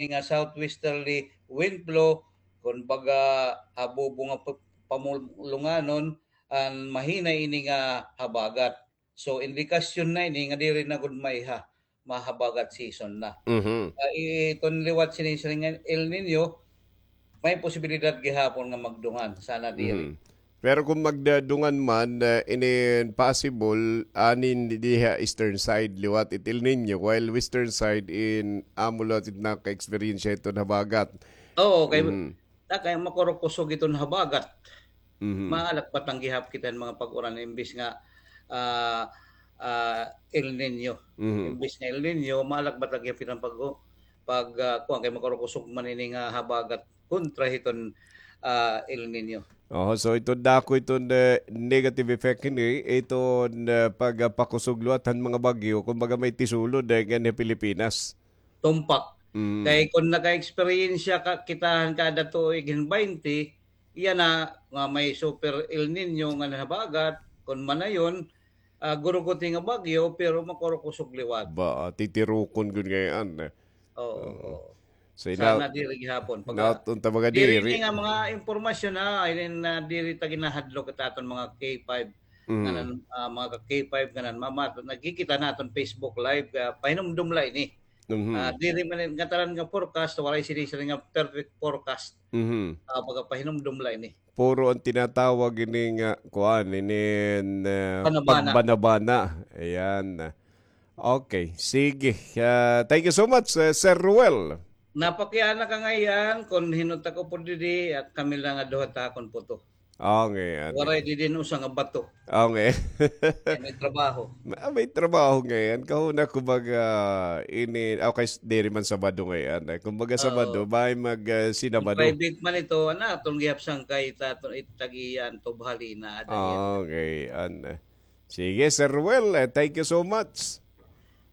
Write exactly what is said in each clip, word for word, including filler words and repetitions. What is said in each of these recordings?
nga southwesterly wind flow, kun baga, habubo nga pa-, pamulunganon, an mahina ini nga habagat. So, indikasyon na ini nga diri na gud maiha, mahabagat season na. Mhm. Ah, iton liwat sini, sini nga El Nino, may posibilidad gihapon nga magdungan, sana diri. Mhm. Pero kung magdadungan man, ah, inin possible, anin diha eastern side, liwat it El Nino, while western side in amo liwat it naka-experience iton habagat. Oo, kay Mhm. na kay makurukusog iton habagat. Mhm. Maalakbatan gihap kita hin mga pag-uran imbis nga, ah, ah, El Nino. Mhm. Imbis nga El Nino, maalakbatan gihap kita pag, pag, ah, kuwan, kay makurukusog man ini nga habagat kontra hiton, ah, El Nino. Oh, so ito dako iton, eh, negative effect ini, iton, eh, pagpakusog liwat han mga bagyo, kumbaga may tisulod, eh, ngan ha Pilipinas. Tumpak. Mm. Kay kun naka-eksperyensya ka, kita han kada tuig hin baynte, iya na nga may super El Nino nga nahabagat, kun manayon, ah, guruguti nga bagyo, pero makurukusog liwat. Ba, titirukon gud ngay-an, eh. Oo, Oo. oo. So, Sana ina-, diri gihapon. Pag, naot unta mga diri diri. Ni nga mga impormasyon, ha, inin, ah, diri ta ginahadlok it aton mga K five, Mm. kanan, ah, mga ka K five, kanan mama, nagkikita naton Facebook Live, ah, pahinumdom la ini. Mhm. Ah, diri man ngatanan nga forecast, waray sini, sini nga perfect forecast. Mhm. Ah, pagapahinumdom la ini. Puro an tinatawag ini nga, kuan, ini, eh, Banabana. pagbanabana. Ayan. Okay, sige. Ah, thank you so much, eh, Sir Ruel. Napakiana ka ngay-an, kun hin-o ta kaupod didi, ah, kami la nga duha ta akon puto. Oo, ngay-an. Waray didi hin usa nga bato. Oo, ngay-an. Kay may trabaho. Ah, may trabaho ngay-an. Kahuna, kumbaga, ini, okay, s-, diri man Sabado ngay-an. Eh, kumbaga, Oo. Sabado, may mag, ah, sinabado. Private man ito, ana, aton gihap sangkay, it aton, it tag-iya, an tubhali na, ada Oo, yan. ngay-an. Sige, Sir Ruel, eh, thank you so much.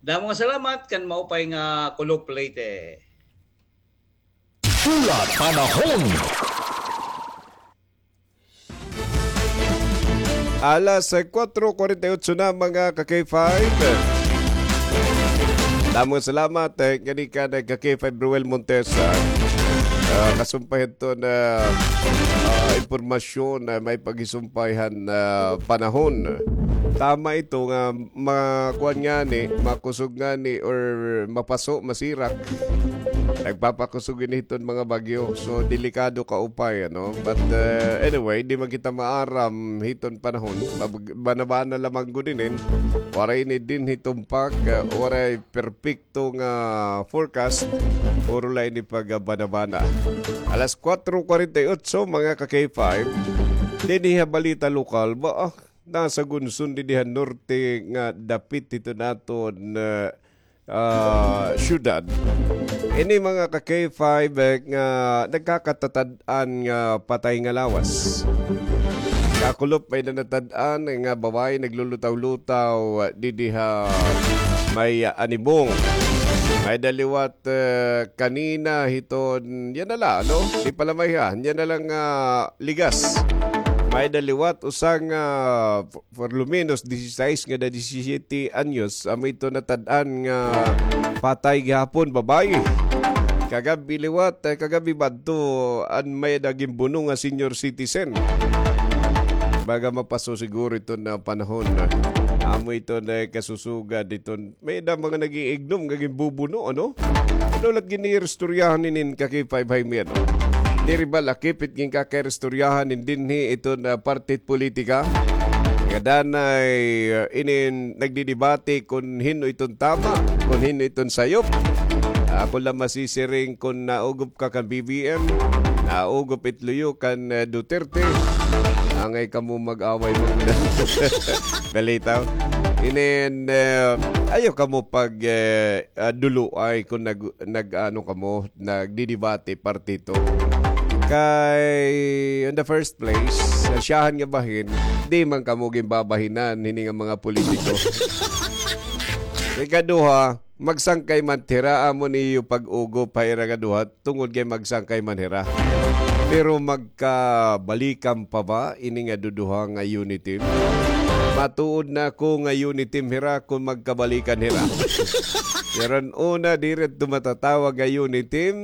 Damo nga salamat, kan maupay nga Kulop Leyte. Pula Panahon. Alas, eh, kuwatro kuwarenta y otso na, mga ka-K five. Damo nga salamat, eh, kani ka nagka-K five Ruel Montes, ah. Ah, kasumpay hito na, ah, impormasyon na may paghisumpay han, ah, panahon. Tama ito nga makuan ngani, makusog ngani, or mapaso, masirak. Nagpapakusog ini hiton mga bagyo. So, delikado kaupay, ano? But, uh, anyway, di man kita maaram hiton panahon. Mabag-, banabana lamang gud inin. Waray ini dinhi tumpak, uh, waray perpekto nga forecast. Puro la ini pagbanabana. Alas kuwatro kuwarenta y otso, mga ka-K five. Dinhi ha balita lokal, ba, ah, nasa Gunson, dinhi ha norte nga dapit hito naton, uh, ah, syudad. Ini mga ka-K five, eh, nga nagkakatatad-an nga patay nga lawas. Kakulop, may-ada natad-an nga babaye naglulutaw-lutaw, ah, didi ha may, ah, Anibong. May-ada liwat, eh, kanina hiton, yana la, ano? Di pa la mayha, yana la nga ligas. May-ada liwat usa nga, ah, por lo menos, disisais ngada disisiyete anyos, amo ito natad-an nga patay gihapon, babaye. Kagab-i liwat, eh, kagab-i ba adto, an may-ada ginbuno nga senior citizen. Baga mapaso siguro ito na panahon. Amo ito na kasusugad ito. May-ada mga nag-iignom nga ginbubuno, ano? Ano la it gin-iiristoryahan inin ka-K five Jaime, ano? Diri ba lakip it ginkakairistoryahan inin dinhi iton, ah, parte politika? Nga danay, ah, inin nagdidebate kun hin-o iton tama, kun hin-o iton sayop. Ako la masisiring kun naugop ka kan B B M, naugop it luyo kan, ah, Duterte. Angay kamo mag-away mo. Balitaw. Inin, ah, ayaw kamo pag, eh, ah, duluay kun nag-, nag-ano kamo, nagdidebate parte ito. Kay, in the first place, sa syahan nga bahin, di man kamo ginbabahinan hini nga mga politiko. Ikaduha, magsangkay man hira, amo niyo pag-ugop ha ira nga duha, tungod kay magsangkay man hira. Pero magkabalikan pa ba ini nga duduha nga unity? Matuod na ako nga Uniteam hira kon magkabalikan hira. Pero una, diri ito matatawag nga Uniteam.